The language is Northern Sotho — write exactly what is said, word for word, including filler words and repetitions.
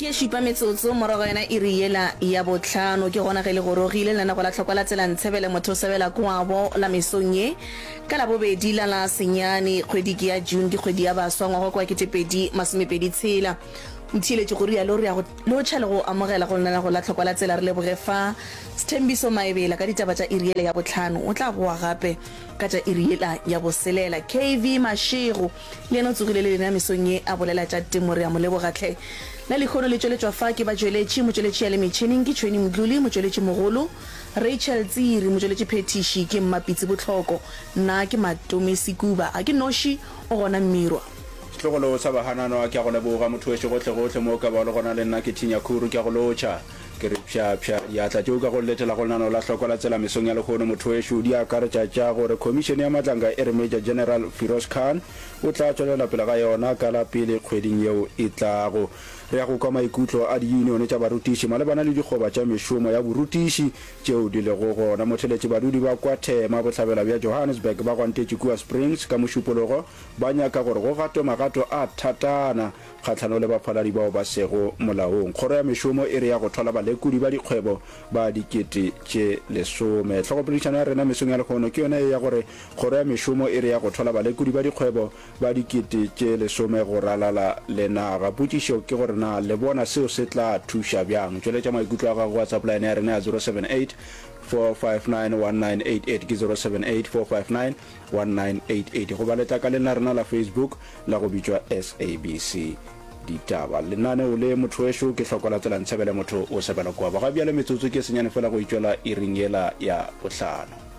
Ke ye šupa metsotso morago yona iri yela ya bohlano. Ke gona ge le gorogile lenanego la Tlhokwa la Tsela Ntshebele motho o sebela kwabo la mesong ye. Ka Labobedi la la senyane kgwedi ke ya June ke kgwedi ya baswa ngwaga ke wa ketepedi masomepedi tshela. Motheeletši go rialo re ya go lotšha le go amogela go lenanego la Tlhokwa la Tsela re leboge fa Sthembiso Maebela ka ditaba tša iri yela ya bohlano. O tla boa gape ka tša iri yela ya boselela. K V Mashego le yena o tsogile le lena mesong ye a bolela tša temo re a mo leboga hle. La lehono le tšweletšwa fa ke batšweletši, motšweletši ya le metšhineng ke Tšhweni Mdluli, motšweletši mogolo, Rachel Tsiri, motšweletši phethiši ke Mmapitsi Bohloko, nna ke Matome Sekuba, ga ke noši, o gona Mmirwa. Setlogolo sa Bahananwa, ke a go leboga motho wešo gohlegohle mo o ka bago le gona le nna ke Thinya Khuru ke a go lotšha. Ke re pša pša diatla tšeo ka go letela go lenaneo la Hlokwa la Tsela mesong ya lehono motho wešo di akaretša tša gore Khomišene ya Matlanka e re Major General Firoz Khan o tla tšwelela pele ga yona ka la pele kgweding yeo e tlago. Re ya go kwa maikutlo a diyunione tša barutiši malebana le dikgoba tša mešomo ya borutiši tšeo di lego gona. Motheletši badudi ba kwa Thema, bohlabela bja Johannesburg ba gwantetše kua Springs ka Mošupologo ba nyaka gore go gatwe magato a thatana kgahlano le bafaladi bao ba sego molaong. Kgoro ya Mešomo e re ya go thwala balekodi ba dikgwebo ba dikete tše lesome. Hlogopoledišano ya rena mesong ya lehono ke yona ye ya gore Kgoro ya Mešomo e re ya go thwala balekodi ba dikgwebo ba dikete tše lesome go ralala le naga. Potšišo ke gore na le bona seo se tla thuša bjang? Tšweletša maikutlo a gago go WhatsApp line ya rena ya zero seven eight four five nine one nine eight eight ke zero seven eight four five nine one nine eight eight goba letlakaleng la rena la Facebook la go bitšwa S A B C Ditaba. Lenaneo le motho wešo ke hloko la tsela ntshebele motho o sebela kwa. Ga bjale metsotso ke senyane fela go itšwela iring yela ya bohlano.